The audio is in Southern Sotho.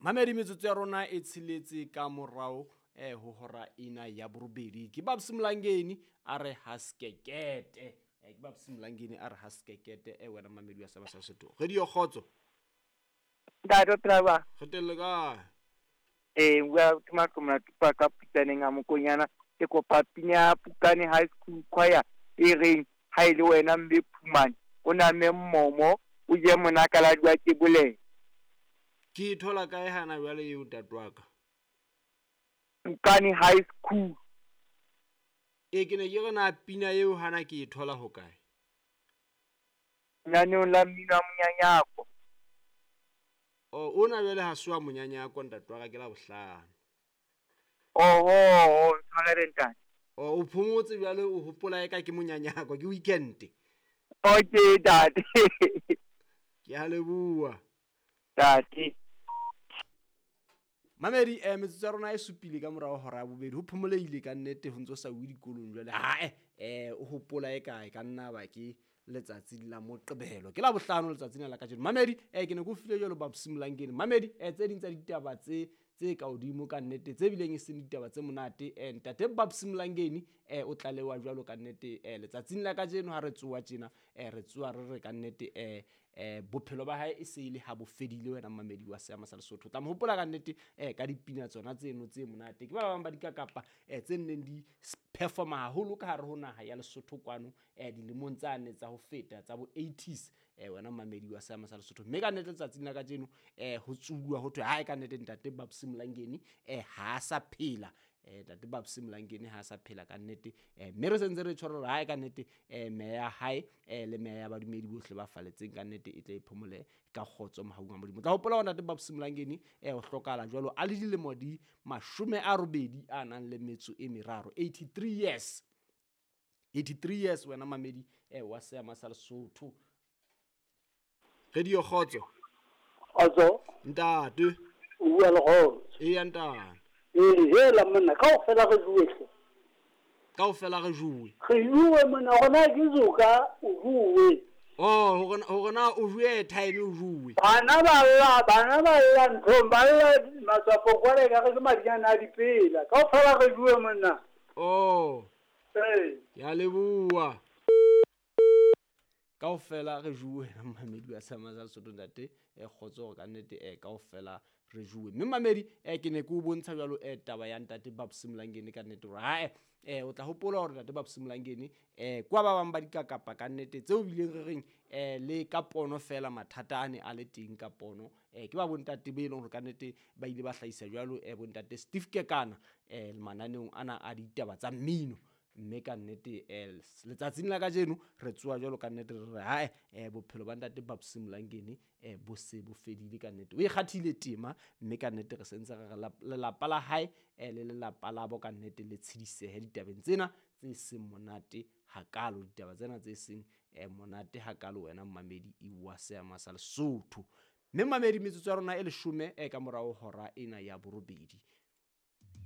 Mamedi, metsotso ya rona e tsheletse ka morao ho hora ena ya borobedi. Ke Babs Mlangeni a re haskekete. Ke Babs Mlangeni a re haskekete. Wena mamedi wa Seama sa Lesotho. Radio Kgotso. Ntate o phela jwang? Re teng le kae? Ee, bua ke Maqomela Tupa ka Putsaneng a Mokonyana. Ke kopa pina ya Pukane High School Choir e reng ha e le wena mme Phumane o name mmomo o je monakaladi wa kebolelo. Ke e thola kae hana jwale eo ntate wa ka? Pukane High School. E ke ne ke re na pina eo hana ke e thola hokae? Lenaneong la mmino wa monyanyako. Oh, ona jwale ha se wa monyanyako ntate wa ka, ke la bohlano. Oho, ntshwarele ntate. Oh, o phomotse jwale o hopola eka ke monyanyako, ke weekend. Okay ntate. Ke a leboha. Ntate. Mamedi, metsotso ya rona e supile ka morao hora ya bobedi. Ho phomoleile ka nnete ho ntso sa uwe dikolong jwale. Hae, o hopola e kae ka nna ba ke letsatsi la Moqebelo. Ke la bohlano letsatsi la kajeno. Mamedi, ke ne ke o file jwalo Babs Mlangeni. Mamedi, tse ding tsa ditaba tse ka hodimo ka nnete, tse bileng e seng ditaba tse monate. Ntate Babs Mlangeni, o tlalewa jwalo ka nnete, letsatsing la kajeno ha re tsoa tjena, re tsoa re re ka nnete, bophelo ba hae e se ile ha bo fedile wena mamedi wa Seama sa Lesotho. Tla mo hopola ka nnete, ka dipina tsona tseno tse monate. Ke ba bang ba dikakapa, tse nneng di performa haholo ka hare ho naha ya Lesotho kwano, dilemong tsane tsa ho feta tsa bo 80s, wena mamedi wa Seama sa Lesotho. Mme ka nnete letsatsing la kajeno, ho tsuwa ho thwe hae ka nnete ntate Babs Mlangeni, ha sa phela. Ntate Babs Mlangeni ha sa phela ka nnete. Mme re sentse re tshwara hore hae ka nnete, meya ya hae, le meya ya badumedi bohle ba faletseng ka nnete e tle e phomole ka kgotso mohaung wa Modimo. Tla hopola hore ntate Babs Mlangeni, o hlokahala jwalo a le dilemo di 80 a nang le metso e meraro, 83 years. 83 years wena mamedi, wa Seama sa Lesotho. Radio Kgotso. Kgotso. Ntate. O bua le Kgotso. Eya ntate. Ee, hela monna, kaofela re juwe hle. Kaofela re juwe. Re juwe monna, hore na ke zoka o juwe. Oh, hore na o juwe airtime o juwe. Bana ba lla nthong, ba lla matswapong kwale ka re ke madinyana a dipela. Kaofela re juwe monna. Oh. Ee. Ke a leboha. Kaofela re juwe mamedi wa Seama sa Lesotho ntate, kgotso hore ka nnete, kaofela re juwe. Mme mamedi, ke ne ke o bontsha jwalo, taba ya ntate Babs Mlangeni ka nnete hore hae, o tla hopola hore ntate Babs Mlangeni, kwa ba bang ba dikakapa ka nnete tseo bileng re reng, le ka pono fela mathata a ne a le teng ka pono. Ke ba bontate be leng hore ka nnete ba ile ba hlahisa jwalo, bontate Steve Kekana, mananeong ana a ditaba tsa mmino. Mme ka nnete, letsatsing la kajeno re tsoa jwalo ka nnete re re hae, bophelo ba ntate Babs Mlangeni, bo se bo fedile ka nnete. O ikgathile tema mme ka nnete re sentse re re lelapa la hae, le lelapa la bo ka nnete le tshedisehe ditabeng tsena tse seng monate hakalo, ditaba tsena tse seng, monate hakalo wena mamedi wa Seama sa Lesotho. Mme mamedi, metsotso ya rona e 10, ka morao hora ena ya borobedi.